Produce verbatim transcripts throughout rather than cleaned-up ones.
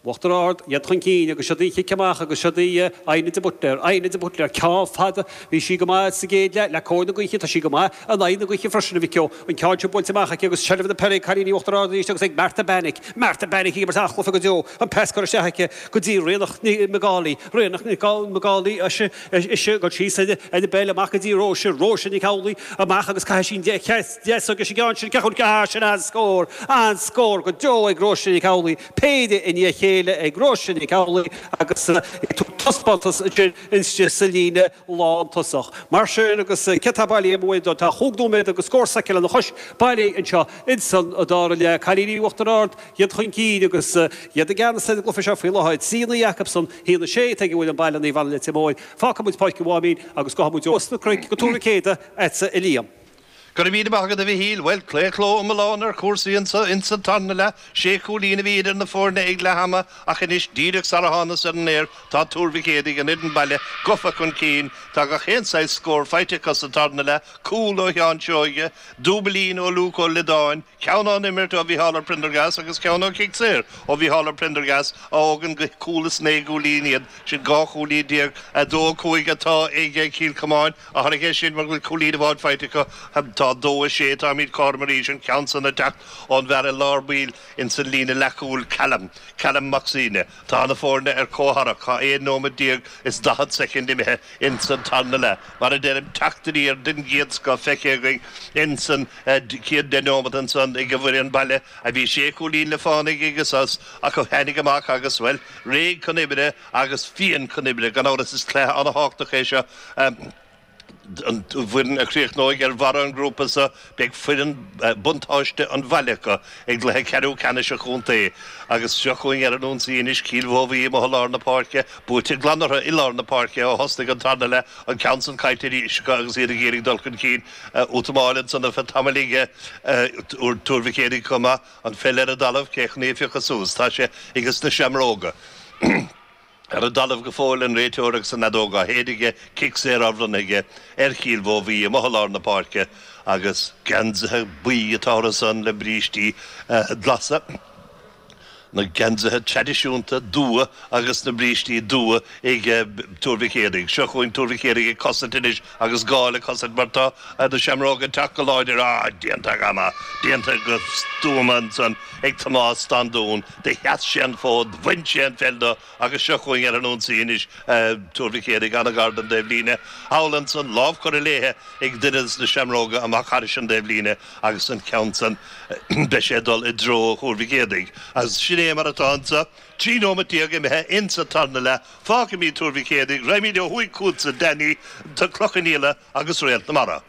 Uachtar Ard, iad chun cinn agus seo í cic amach agus seo í Áine de Butler, Áine de Butler, ceann fada, bhí sí go maith sa gcéad leath, le cóir na gaoithe, tá sí go maith in aghaidh na gaoithe freisin a Mhic Eo, an ceann seo buailte amach aici agus seilbh na peile ag cailíní Uachtar Ard arís agus ag Martha Bannick, Martha Bannick ag imirt an-chluiche go deo, an pas curtha isteach aici go dtí Ríonach Ní McAuley, Ríonach Ní McAuley, ise, ise, ag dul síos ar an bpeil amach go dtí Róise, Róise Nic Amhlaoibh amach agus caithfidh sí an deas agus an ceann sin, ceann, ah, sin an-scór, an-scór go deo ag Róise Nic Amhlaoibh, péire i ndiaidh a chéile ag Róise Nic Amhlaoibh agus ag tabhairt taispeántas ansin istigh sa líne lántosach. Mar sin agus cé atá bailithe amuigh do tá chúig nóiméad agus scór soicind lena chois bailithe anseo insan dara leath. Cailíní Uachtar Ard, iad chun cinn agus iad i gceannas ar an gcluiche seo faoi láthair. Trí naoi acusan, haon a sé atá ag an bhfoireann baile Naomh Anna Leitir Móir. Fágfaidh muid Páirc an Mháimín agus gabhfaidh muid os na cnoic go Tuar Mhic Éadaigh agatsa a Liam. Go raibh míle maith agat a Mhichíl. Bhuel, claochló iomlán ar chúrsaí anso insa tarna leath. Sé chúilín a bhí idir na foirne ag leath ama ach anois díreach sar a thánas ar an aer tá Tuar Mhic Éadaigh an fhoireann baile gafa chun cinn. Tá gach aon saghas scór faighte acu sa tarna leath, cúl ó Sheán Seoige, dúbailín ó Luke Ó Loideáin, ceann ón imirt ó Mhícheál Ó Prendergast agus ceann ó chic saor ó Mhícheál Ó Prendergast a fhágann go cúl is naoi gcúilín iad sin dhá chúilín déag a dó a cúig atá ag Cill Chomáin a tháinig é sin mar go bhfuil cúilín amháin faighte acu tá dó a sé táimid cothrom arís an ceann san ag teacht ón bhfear i lár baill insan líne leathchúil Callum Callum Mac Suibhne Tá na foirne ar comhtharrac tá aon nóiméad déag is daichead soicind imithe insan tarna leath mar a deirim teacht aniar den gcéad scoth feicthe againn insan chéad deich nóiméad ansan ag an bhfoireann baile a bhí sé chúilín le fánaigh agus as ach a tháinig amach agus well réidh chun oibre agus fiáin chun oibre gan amhras is cluiche an-tábhachtach é seo an bhfoireann a chríochnóidh ar bharr an ghrúpa seo beidh foireann buntáiste an bhaile acu ag cluiche ceathrú ceannais an chontae agus seo chugainn ar an ionsaí anois Cill Mhóbhaí amuigh i lár na páirce buaite glan orthu i lár na páirce ó thosnaigh an tarna leath an ceann san caillte arís acu agus iad ag iarraidh dul chun cinn útamáil ansan ar feadh tamaill aige Tuar Mhic Éadaigh chomh maith an pheil ar an dtalamh cé chun í a phiocadh suas tá sé agus na seamróga. Ar an dtalamh go fóill an réiteoir agus an fheadóg á shéideadh aige, cic saor á bhronnadh aige ar Chill Mhóbhaí amuigh i lár na páirce agus geansaithe buí atá orthu san le brístí glasa. Na geansaithe traidisiúnta dubha agus na brístí dubha ag Tuar Mhic Éadaigh. Seo chugainn Tuar Mhic Éadaigh ag cosaint anois agus gá le cosaint mar tá na Seamróga ag teacht go láidir. Ah, déanta go maith, déanta go stuama ansan ag Tomás Standún. Do sheas sé an fód, bhain sé an pheil de Agus seo chugainn ar an ionsaí anois, Tuar Mhic Éadaigh an-ghar don dtaobhlíne. Thall ansan, lámh curtha léithe ag duine de na Seamróga amach thairis an dtaobhlíne agus an ceann san, beidh sé ag dul i dtreo Thuar Mhic Éadaigh. Agus sin é mar atá anso, trí nóimeat déag imithe insa tarna leath. Fágfaimid Tuar Mhic Éadaigh, raghaimid ó thuaidh chugatsa, Danny, Cloich Cheann Fhaola agus Réalt na Mara.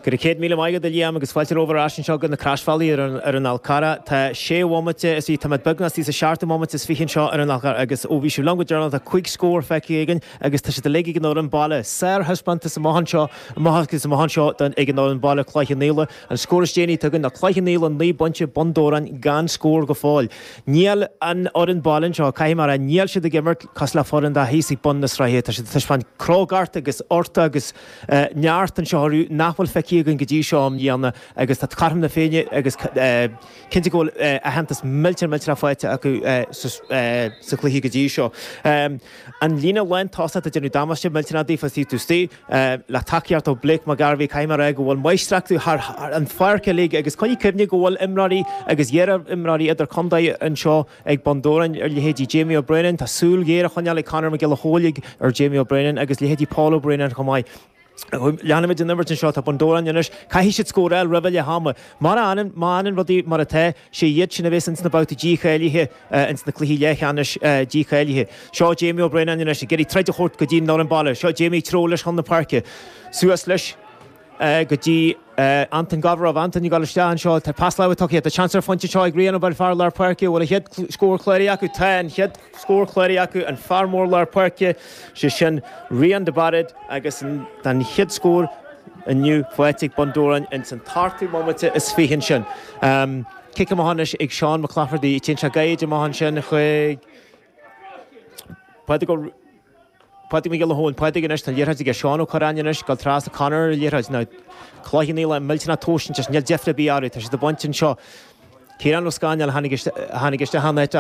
Go raibh céad míle maith agat a Liam agus fáilte romhaibh ar ais anseo go na Croisbhealaí ar an ar an Fhál Carrach. Tá sé bhomaite is tá muid beagnach istigh sa seachtú bomaite is fiche anseo ar an Fhál Carrach agus ó bhí sibh liom go deireanach tá cúig scór feicthe againn agus tá siad uilig ag an fhoireann baile. Sárthaispeántas amach anseo amach agus amach anseo don ag an fhoireann baile Cloich Cheann Fhaola. An scór is déanaí atá againn ná Cloich Cheann Fhaola naoi bpointe Bun Dobhráin gan scór go fóill. Níl an fhoireann baile anseo, caithfidh mé a rá, níl siad ag imirt cosúil le foireann atá thíos ag bun na sraithe. Tá siad ag taispeáint crógacht agus ort agus neart anseo orthu nach bhfuil feicthe againn go dtí seo i mbliana agus tá cothrom na Féinne agus cinnte go bhfuil aitheantas millteanach millteanach faighte acu sa chluiche go dtí seo. An líne lántosach ag déanamh damáiste millteanach daofa is iad istigh le tacaíocht ó Blake McGarvey caithfidh mé a rá go bhfuil máistreacht thar an pháirc uilig agus coinnigh cuimhne go bhfuil imreoirí agus iar-imreoirí idirchontae anseo ag Bun Dobhráin ar leithéidí Jamie O'Brennan, tá súil ghéar á choinneáil ag Conor Mac Giolla Chóill ar Jamie O'Brennan agus leithéidí Paul O'Brennan chomh maith. Leanfaimid an imirt anseo, tá Bun Dobhráin anois, caithfidh siad scóráil roimh leath ama. Mar a fhanann, má fhanann rudaí mar atá, sé iad sin a bheas ins na babhtaí dícháilithe, ins na cluichí leathcheannais dícháilithe. Seo Jamie O'Brennan anois ag iarraidh troid a thabhairt go dtí an fhoireann baile. Seo Jamie ag treabhadh leis chun na páirce. Suas leis. go dtí Anton Govorov. Anton ag dul isteach anseo. Tá pas láimhe tugtha. Tá seans ar phointe anseo ag Rian Ó fear lár páirce. Bhfuil an chéad scór cláraithe acu? Tá an chéad scór cláraithe acu. An fear mór lár páirce, sé sin Rian de Bairéad agus tá an chéad scór inniu faighte ag Bun Dobhráin ins an t-ochtú bomaite is fiche ansin. Cic amach anois ag Seán Mac Laifeartaigh. Téann sé gairid amach ansin chuig Pádraig Ó. Pádraig Mac Giolla Chóill, Pádraig anois, tá an liathróid aige Seán Ó Curráin anois, ag dul trasna Conor ar an liathróid. Now, Cloich Cheann Fhaola millteanach tomhaiste, níl deifir ar bith orthu, tá siad ag baint anseo. Ciarán Ó Scanaill a tháinig isteach an áit